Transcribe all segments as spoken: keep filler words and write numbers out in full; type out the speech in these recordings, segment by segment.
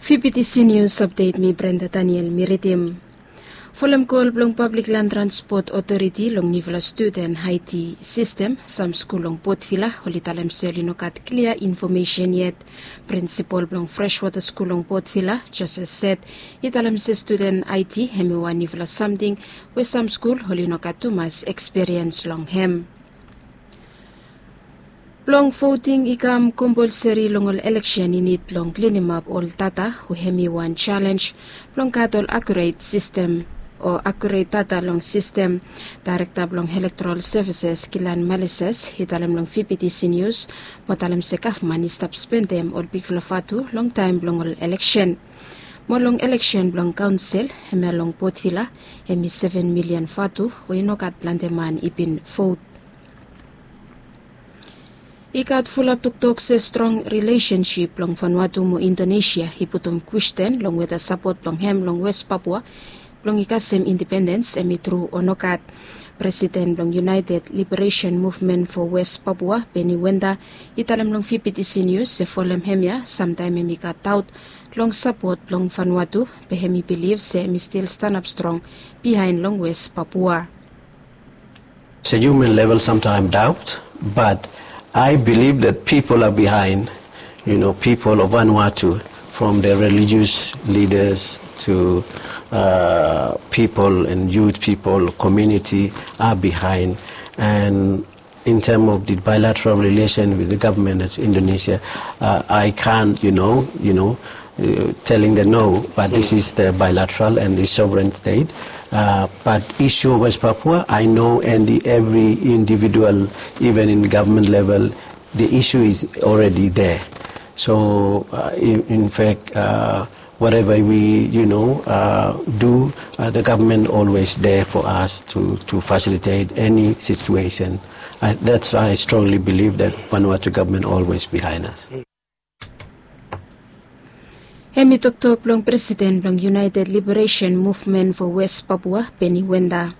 Fifty Seniors Update, mi Brenda Daniel mi ridim. Folem kol blong Pablik Lan Transpot Otoriti long niufala studen aiti sistem, sam skul long Potvila oli talem se oli no gat klia infomesen yet. Prinsipol blong Freshwater Skul long Potvila, Joseph Set, i talem se studen aiti hem i wan niufala samting we sam skul oli no gat tumas ekspiriens long hem. Blong voting i kam kompolseri long ol eleksen i nid blong klinimap ol data we hem i wan jalenj blong gat ol akuret sistem o akuret data long sistem. Daerekta blong Elektorol Sevises Kilan Malises i talem long Fifty Seniors mo talem se gavman i stap spendem ol bigfala vatu long taem blong ol eleksen. Mo long eleksen blong kaonsel hemia long Potvila hem i seven milian vatu we i no gat plante man i bin vot. I gat fulap toktok se strong rilesensip blong Vanuatu mo Indonesia i putum kwesten long weta sapot blong hem long West Papua blong i kasem indipendens hem i tru o nogat. Presiden blong United Liberation Movement for West Papua, Benny Wenda, i talem long Fifty Seniors se folem hemia samtaem hem i gat daot long sapot blong Vanuatu, be hem i bilif se hem i stil stanap strong biaen long West Papua. It's a human level, sometimes doubt, but I believe that people are behind, you know, people of Vanuatu, from the religious leaders to uh, people and youth people, community are behind. And in terms of the bilateral relation with the government of Indonesia, uh, I can't, you know, you know, uh, telling the no, but this is the bilateral and the sovereign state. Uh, but issue of West Papua, I know, and the, every individual, even in government level, the issue is already there. So, uh, in, in fact, uh, whatever we, you know, uh, do, uh, the government always there for us to, to facilitate any situation. I, that's why I strongly believe that Vanuatu government always behind us. Hem i toktok blong presiden blong United Liberation Movement for West Papua, Benny Wenda.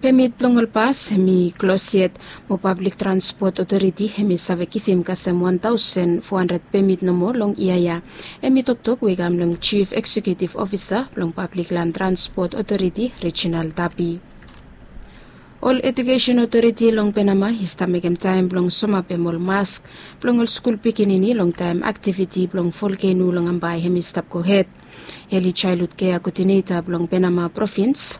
Pemit blong ol bas hem i klos yet, mo Pablik Transpot Otoriti hem i save givim kasem wan taosen fo handred pemit nomo long yia ya. Hem i toktok we i kam long Jif Eksekiutiv Ofisa blong Pablik Lan Transpot Otoriti, Reginald Tapi. Ol Ejukesen Otoriti long Penama i stap mekem taem blong somapem ol mask blong ol skul pikinini long taem aktiviti blong volkeno long Ambae hem i stap gohed. Eli Jaelhud Kea Koodineta blong Penama Provins,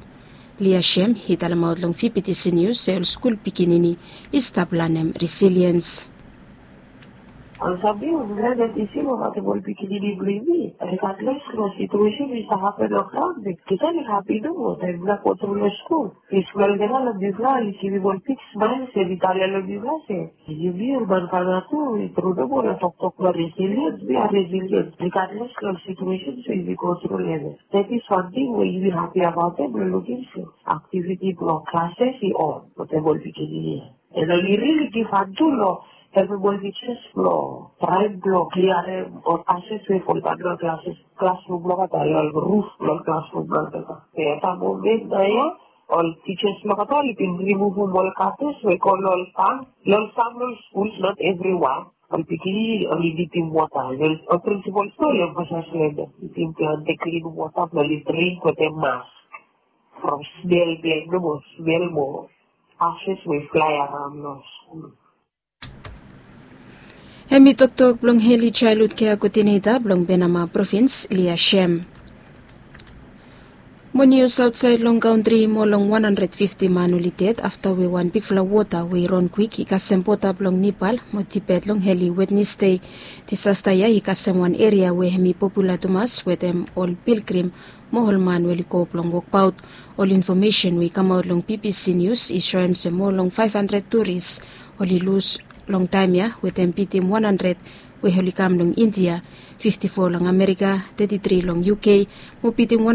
Lia Shem, i talemaot long Fifty Seniors se ol skul pikinini i stap lanem resiliens. Olsem mi, mi glad dati i si long watem ol pikinini blong yumi. Regardless long situesen we i stap hapen long graon, be tita oli hapi nomo taem mifala go tru long skul. Bikos olgeta long mifala oli givim ol big smael se mi talem long mifala se yumi ol man Vanuatu i tru nomo long toktok blong resiliens, we are resilient regardless long situesen we yumi go tru long hem. That is one thing we yumi hapi abaot hem blong lukim se aktiviti blong klases i on wetem ol pikinini ya. And oli rili givhan tu long helpem ol tijas blong traem blong kliarem ol bases we foldaon long klases, klasrum blong olgeta, long ruf blong klasrum blong olgeta. Be at that moment naoia ol tijas blong olgeta oli bin rimuvum ol kates we go long ol fam, long sam long skul, not evriwan. Ol pikinini oli nidim wota, ol prinsipol tu oli emfasais long hem, nidim plante klin wota blong oli dring wetem mask. From smel blong hem nomo, smel mo bases we i flae araon long skul. Hem i toktok blong Eli Jaelhud Kea Koodineta blong Penama Provins, Lia Shem. Mo nius aotsaed long kantri, moa long wan handred fifti man oli ded afta we wan bigfala wota we i ron kwik i kasem boda blong Nepal mo Tibet long eli Wednesde. Disasta ya i kasem wan eria we hem i popula tumas wetem ol pilgrim mo ol man we oli go blong wokbaot. Ol infomesen we i kamaot long B B C News i soem se moa long faef handred turis oli lus long taem ya, wetem bitim wan handred we oli kam long India, fifti fo long Amerika, teti tri long U K, mo bitim wan